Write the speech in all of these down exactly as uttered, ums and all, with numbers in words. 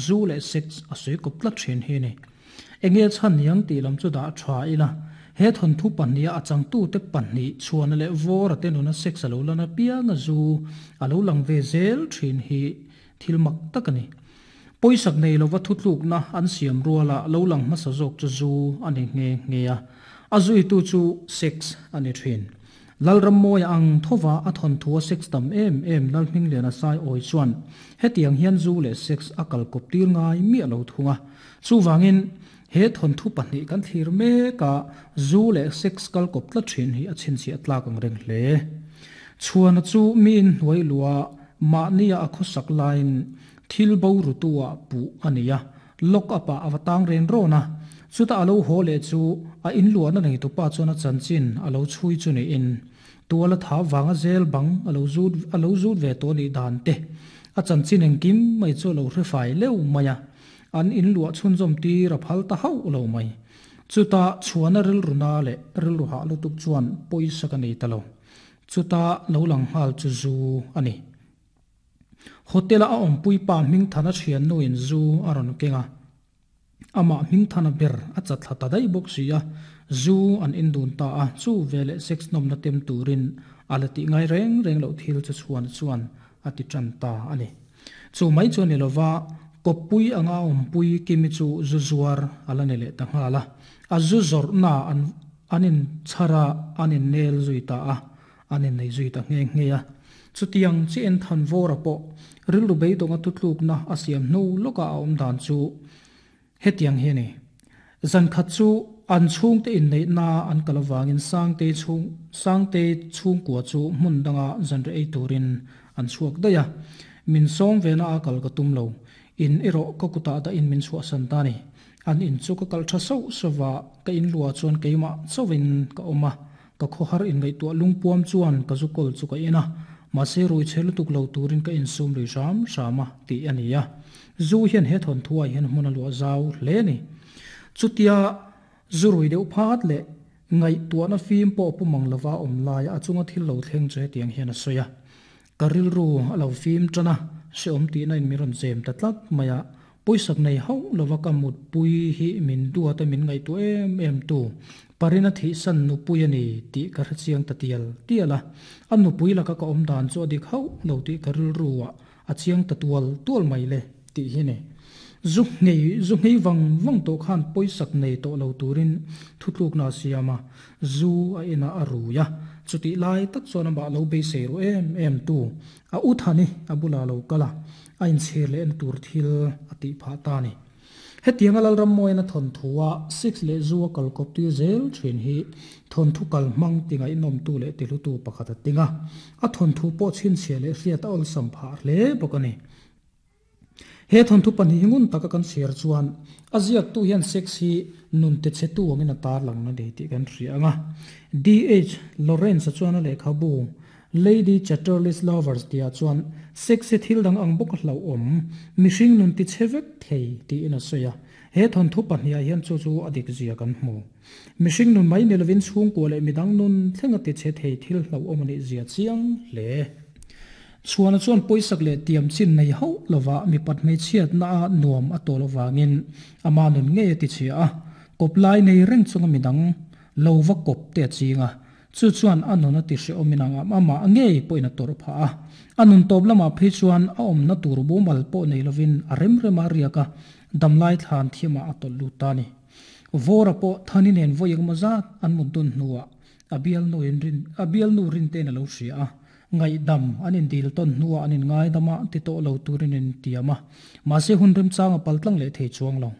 zu le sex a sui kop tlat thin hi ni. Enge chan niang ti lam chu da tha ila he thon thu pania achang tu te panni chuan le vor te nuna sex alo lana pianga zu alo lang ve zel thin hi thil mak takani poisak nei lova thutluk na an siam ruala lo lang hmasa zawk chu zu ani nge nge a azui tu chu sex ani thin lalram moi ang thova a thon thua sex tam em em lalhming lena sai oi chuan hetiang hian zu le sex akal kop tir ngai mi alo thunga chu wangin he thon thu pahnih kan thlir me ka zu le sex kal kop tla thin hi a chin chi atlak ang reng hle chuan chu mi in hnuai lua ma nia a khosak line thil bo rutua pu ania lock apa awatang ren rona chuta alo hole chu a in luana nei tu pa chona chanchin alo chui chu ni in tuala tha wanga zel bang alo zut alo zut ve to ni dan te a chanchin engkim mai chu lo hre fai leu maya an in lua chun zom ti ra phal ta hau lo mai chuta chuana ril runa le ril ru ha lu tuk chuan poisa ka nei talo chuta lo lang hal chu zu ani hotel a om pui pa ming thana thian nu in zu aron kenga ama ming thana ber a chatla ta dai bok sia zu an indun ta a chu vele sex nom na tem turin alati ngai reng reng lo thil chu chuan chuan ati tran ta ani chu mai chu ni lova kopui anga om pui kimi chu zu zuar ala ne le ta ngala a zu zor na an anin chara anin nel zui ta a anin nei zui ta nge nge a chutiang chi en than vora po rilu bei donga tutluk na asiam nu loka om dan chu hetiang he ni zan khat chu an chung te in nei na an kalawangin sang te chung sang te chung kwa chu mun danga zan re ei turin an chuak daya min som ve na akal ka tum lo in ero ka kuta da in min chua san ta ni an in chu ka kal tha so sowa ka in lua chuan keima chowin ka oma ka khohar in ngai tu lungpuam chuan ka zukol chu ka ina ma se rui chelu tuk lo turin ka insum ri ram rama ti ania zu hian he thon thuai hian hmuna lu zau hle ni chutia zurui deuh phat le ngai tuana fim po pumang lova om lai a chunga thil lo thleng che tiang hian a soya karil ru alo fim chana se om ti na in miron chem ta tlat maya poisak nei ho lova ka mut pui hi min duata te min ngai tu em em tu parina thi san nu pui ani ti ka chiang ta tial tiala an nu pui la ka ka om dan chu dik ho lo ti karil ruwa a chiang ta tual tual mai le ti hi ne zuk ngei zuk ngei wang wang to khan poisak nei to lo turin thutluk na siama zu a ina aruya chuti lai tak chuan ba lo be se ru em em tu a uthani abula lo kala a in chhe le en tur thil ati pha ta ni hetiang alal ram moina thon thuwa six le zuwa kal kop ti zel thin hi thon thu kal mang tinga inom tu le tilu tu pakhat tinga a thon thu po chin che le hriat ol sam pha hle bokani he thon thu pan hi ngun taka kan share chuan aziak tu hian sex hi nun te che tu angin tar lang na de ti kan hrianga D H Lawrence chuan le khabu Lady Chatterley's Lovers tia chuan sex se thil dang ang bok hlo om mihring nun ti chevek thei ti ina soya he thon thu pan hi hian chu chu adik zia kan hmu mihring nun mai nilovin chung ko le midang nun thlenga ti che thei thil hlo om ani zia chiang le chuan chuan poisak le tiam chin nei ho lova mi pat mei chiat na nuam a to lowangin ama nun nge ti chia a koplai nei reng chunga midang lova kop te chinga chu chuan anuna ti hre ominanga ama nge poina tor pha a anun top lama phei chuan a om na tur bu mal po nei lovin a rem rema riaka damlai thlan thima atol lu ta ni vora po thani nen voyeng maza an mudun nuwa abial nu in rin abial nu rin te na lo hria a ngai dam anin dil ton nuwa anin ngai dama ti to lo turin in tiama ma se hun rem changa paltlang le thei chuang lo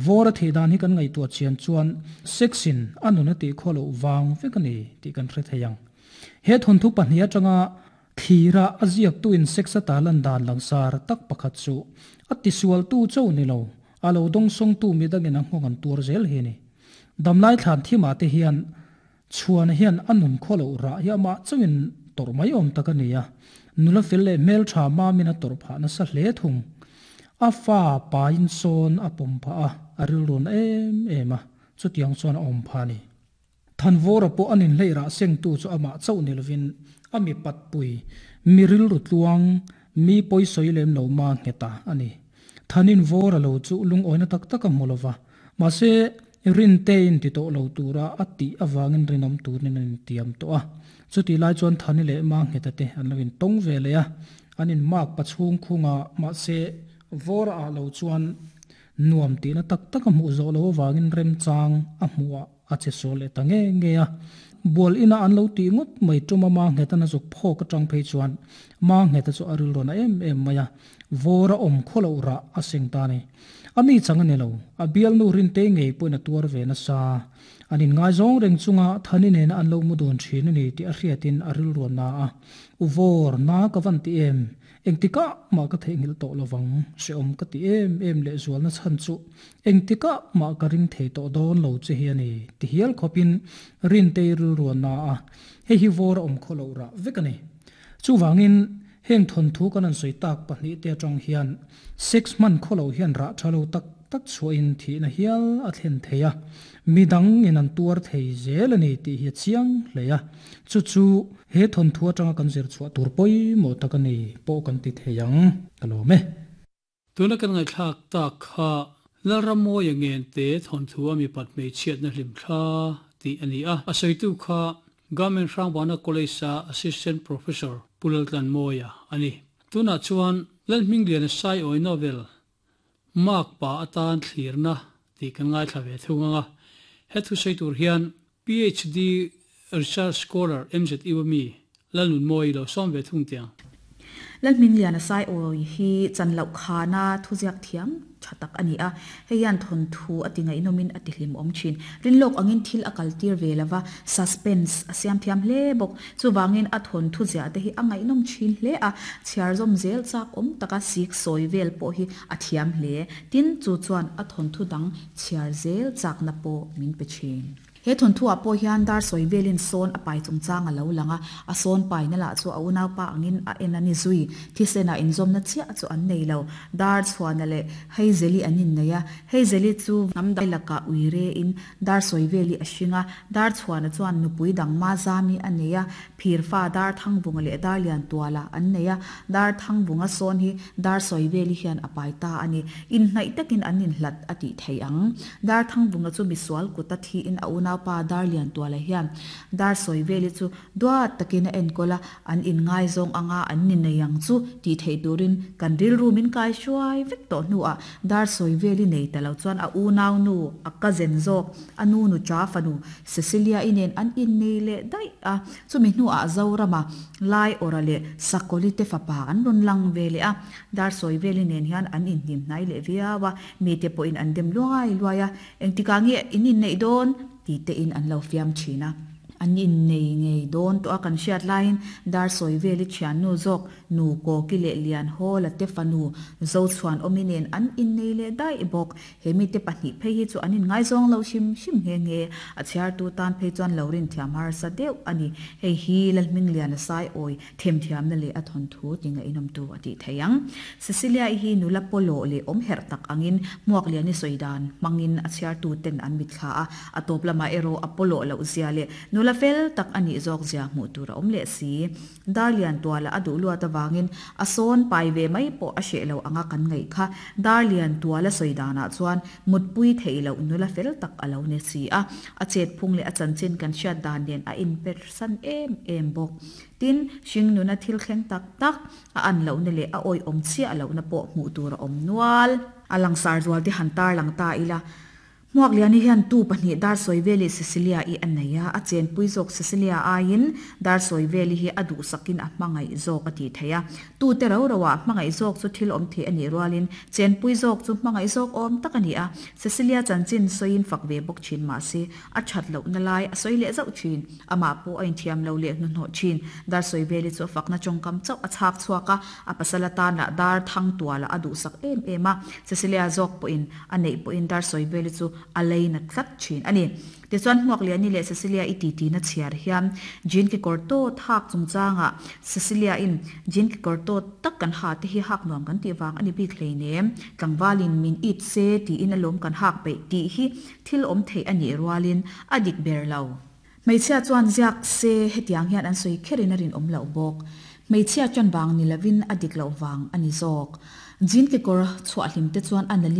vora theidan hi kan ngai tu chian chuan sexin anuna ti kholo wang vekani ti kan hre theyang he thon thu pahnia tanga thira aziak tu in sexa talan dan langsar tak pakhat chu ati sual tu chau ni lo alo dong song tu mi dangin ang ngon tur zel hi ni damlai thlan thima te hian chuan hian anun kholo ra ya ma chawin tor mai om takania nula fel le mel tha ma mina tor pha na sa hle thung a fa pa in son a pom pha a aril run em em a chutiang chuan om pha ni thanvora po anin leira seng tu chu ama chau nilovin ami pat pui miril ru tluang mi poi soi lem lo ma ngeta ani Thanin Vawra lo chu lungawina tak tak a hmu lova, mahse Rintein ti tawh lo tura a tih avangin rinawm turin an intiam tawh a. Chutih lai chuan Thani leh Mangheta te an lo intawng ve leh a, an inmak pachhung khung a, mahse Vawra ah lo chuan nuam tihna tak tak a hmuh zawh loh avangin remchang a hmuh ah a che sual leh ta nge nge a. Bual ina an lo tih ngawt mai tuma Mangheta na zuk phawk atang phei chuan Mangheta chu a rilrawn a em em mai a, Vawra awm khaw loh rah a seng ta a ni. A ni chang a ni lo, a bialnu Rintei ngei pawhin a tuar ve nasa. An inngaizawng reng chunga Thani nena an lo mu dun thin a ni tih a hriatin a rilruan na a, U Vawr, na ka van ti em? Engtikah mah ka theihnghilh tawh lovang, hrehawm ka ti em em leh zualna chhan chu engtikah mah ka ring thei tawh dawn lo che hi a ni, ti hial khawpin Rintei rilruan na a, hei hi Vawr a awm khaw loh rah vek a ni. Chuvangin heng thawnthu kan han sawi tak pahnih te atang hian sex hman khaw loh hian rah tha lo tak tak chhuahin thihna hial a thlen thei a, midang in an tuar thei zel a ni tih hi a chiang hle a, chu chu he thawnthu atanga kan zir chhuah tur pawimawh tak a ni pawh kan ti thei ang, ka lawm e. Tuna kan ngaihthlak tak kha Lalrammawia Ngente thawnthu a mipat hmeichhiatna hlimthla tih a ni a, a sawitu kha Government Hrangbana College-a Assistant Professor Pu Laltlanmawia a ni. Tunah chuan Lalhmingliana Saiawi Novel Mark pa atan thlirna tih kan ngaithla ve thung ang a, he thusawi tur hian P H D Research Scholar M Z U ami Lalnunmawi lo sawm ve thung tiang. Lalhmingliana Saiawi hi chan loh khana thuziak thiam tha tak a ni a, hei hian thawnthu a ti ngaihnawmin a ti hlimawm thin. Rinlawk angin thil a kaltir ve lova, suspense a siam thiam hle bawk. Chuvangin a thawnthu ziah te hi a ngaihnawm thin hle a, chhiar zawm zel chak awm taka sik sawi vel pawh hi a thiam hle. Tin, chu chuan a thawnthu dang chhiar zel chakna pawh min pe thin. He thawnthuah pawh hian dar sawi velin sawn a pai chungchang a lo lang a, a sawn paina lah chu a unaupa angin a en a ni zui. Thisenah inzawmna chiah chu an nei lo. Dar chhuana leh Heizeli an innei a, Heizeli chu hnam dang lakah ui rein dar sawi veli a hring a, dar chhuana chuan nupui dang Mazami a nei a, phirfa dar Thangvunga leh dar Liantuala an nei a, dar Thangvunga sawn hi dar sawi veli hian a pai ta a ni. Inhnaih takin an inhlat a tih theih ang. Dar Thangvunga chu misual kuta thiin a unaupa Dar Liantuala hian Dar Sawiveli chu duat takin a enkawl a, an inngaizawng anga an ni nei ang chu tih theih turin kan rilru min kai hruai vek tawh hnuah Dar Sawiveli nei ta lo chuan a unaunu a cousin zawk a nu nu cha fanu Cecilia-i nen an innei leh daih a, chumi hnuah Zorama Lai Awra leh Sakawli te fapa an rawn lang ve leh a, Dar Sawiveli nen hian an inhnim hnai leh viau a, mite pawhin an dem luai luai a, engtikah nge in inneih dawn? Ti tein an lo fiam thin a. An innei ngei dawn tawh a kan hriat laiin Dar Sawiveli thiannu zawk nu Kawki leh Lianhawla te fanu Zochhuan awmi nen an innei leh daih bawk. He mite pahnih phei hi chu an inngaizawng lo hrim hrim nghe nghe. A chhiartu tan phei chuan lo rin thiam harsa deuh a ni. Hei hi Lalhmingliana Saiawi themthiamna leh a thawnthu ti ngaihnawmtu a tih theih ang. Cecilia-i hi nula pawlawh leh awm herh tak angin Hmuakliani sawi dan hmangin a chhiartu ten an mitthla a, a tawp lamah erawh a pawlawh loh zia leh nula fel tak a nih zawk zia hmuh tur a awm leh si. Darlian tuala a duh luat avangin a sawn pai ve mai pawh a hreh lo anga kan ngaih kha. Darlian tuala sawi danah chuan mutpui theih loh nula fel tak a lo ni si a, a chetphung leh a chanchin kan hriat dan nen a inpersan em em bawk. Tin, hringnuna thil thleng tak tak a an lohna leh a awihawm chiah lohna pawh hmuh tur a awm nual. A langsar zual te han tar lang ta ila, Hmuakliani hian tu pahnih dar sawi veli Cecilia-i a nei a, a chenpui zawk Cecilia aiin dar sawi veli hi a duhsakin a hmangaih zawk a tih theih a. Tute ro roah hmangaih zawk chu thil awm theih a nih rualin chenpui zawk chu hmangaih zawk awm tak a ni a. Cecilia chanchin sawiin fak ve bawk thin mahse a that lohna lai a sawi leh zauh thin. Amah pawh a inthiam lo leh hnuhnawh thin. Dar sawi veli chu a fakna tawngkam chauh a chhak chhuak a, a pasal atan lah dar thang tualah a duhsak em em a. Cecilia zawk pawhin a neih pawhin dar sawi veli chu a lei na tlat thin a ni. Tichuan Hmuakliani leh Cecilia i titi na chhiar hian jean kekawr tawt hak chungchangah Cecilia in jean kekawr tawt tak kan ha te hi hak nuam kan tih vang a ni bik hleinem, tlangvalin min it se tiin alawm kan hak peih tih hi thil awm theih a nih rualin a dik ber lo. Hmeichhia chuan ziak se hetiang hian an sawi kherin a rinawm loh bawk. Hmeichhia tan vang ni lovin a dik loh vang a ni zawk. Jean kekawr chhuah hlim te chuan a nalh in.